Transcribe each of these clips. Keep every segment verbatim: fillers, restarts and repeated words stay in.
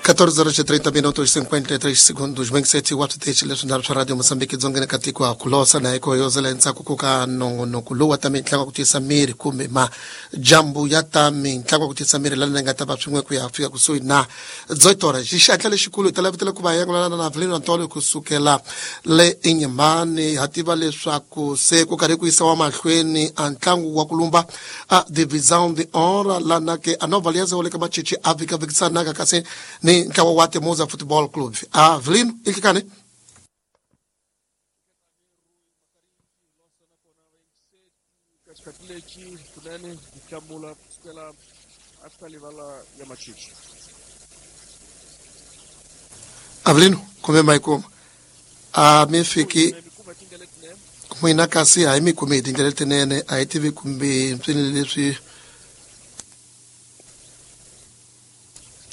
catorze horas e trinta minutos e cinquenta e três segundos. Bem sete oito dez leswi swa Radio Mozambique dzongeni ka tiko ha kulosa na iko yozela endzhaku ku ka nongonoko lowu wa ta mitlangu ku tiyisa miri kumbe majambu ya ta mitlangu ku tiyisa miri lana nga ta va swin'we ku ya fika kusuhi na dzoitora xixatla lexikulu hi ta lavitela ku va yangulana na Avelino Antônio kusukela le Inhambane. Ha tiva leswaku se ku karhi ku yisiwa mahlweni a ntlangu wa ku lumba a Divisão de Honra lana ke a Nova Aliança wa le ka Machichi a vikavikisanaka kasi ni ntlawa wa Temuza Football Club. Avelino, ikikane Xikhathi lexi kunene ku hlamula kusukela a livala ya Machichi. Avelino, kumbe ma yi kuma a mi fiki n'wina kasi a hi mi kumi hi tindlela letinene, a hi tivi kumbe mpfini leswi.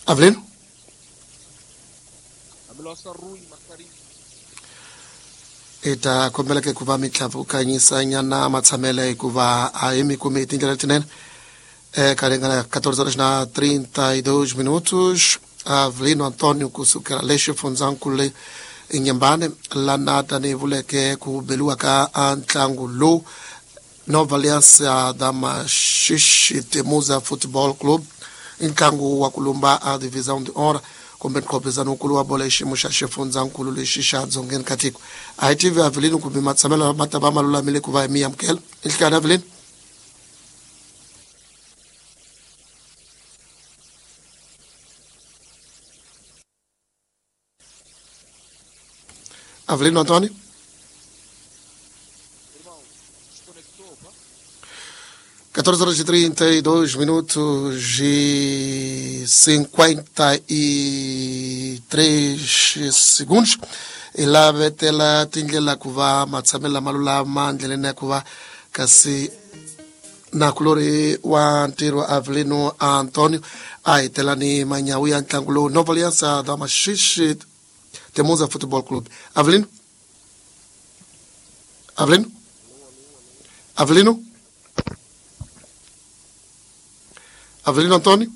Avelino, hi ta kombela ke ku va mi tlhavukanyisanyana matshamelo hikuva a hi mi kumi hi tindlela letinene. É, ringana catorze horas na trinta e dois minutos. Avelino Antônio kusukela le xifundzankulu le Inhambane lana tanihi vuleke ku beliwa ka ntlangu lowu Nova Aliança da Maxixe Temuza Football Club, i ntlangu wa ku lumba a Divisão de Honra kumbe nkhopizano-nkulu wa bolo hi xiyimo xa xifundzankulu lexi xa dzongeni ka tiko. A hi tivi Avelino kumbe matshamelo ma ta va ma lulamile ku va hi mi amukela. Inhlekani Avelino. Avelino Antônio. catorze horas e trinta e dois minutos e cinquenta e três segundos. I lavetela tindlela ku va matshamelo lama lulama ndleleni ya ku va kasi nakulori wa ntirho Avelino Antônio a hetela ni manyawu ya ntlangu lowu Nova Aliança da Maxixe Temuza Football Club. Avelino, Avelino, Avelino, Avelino Antônio.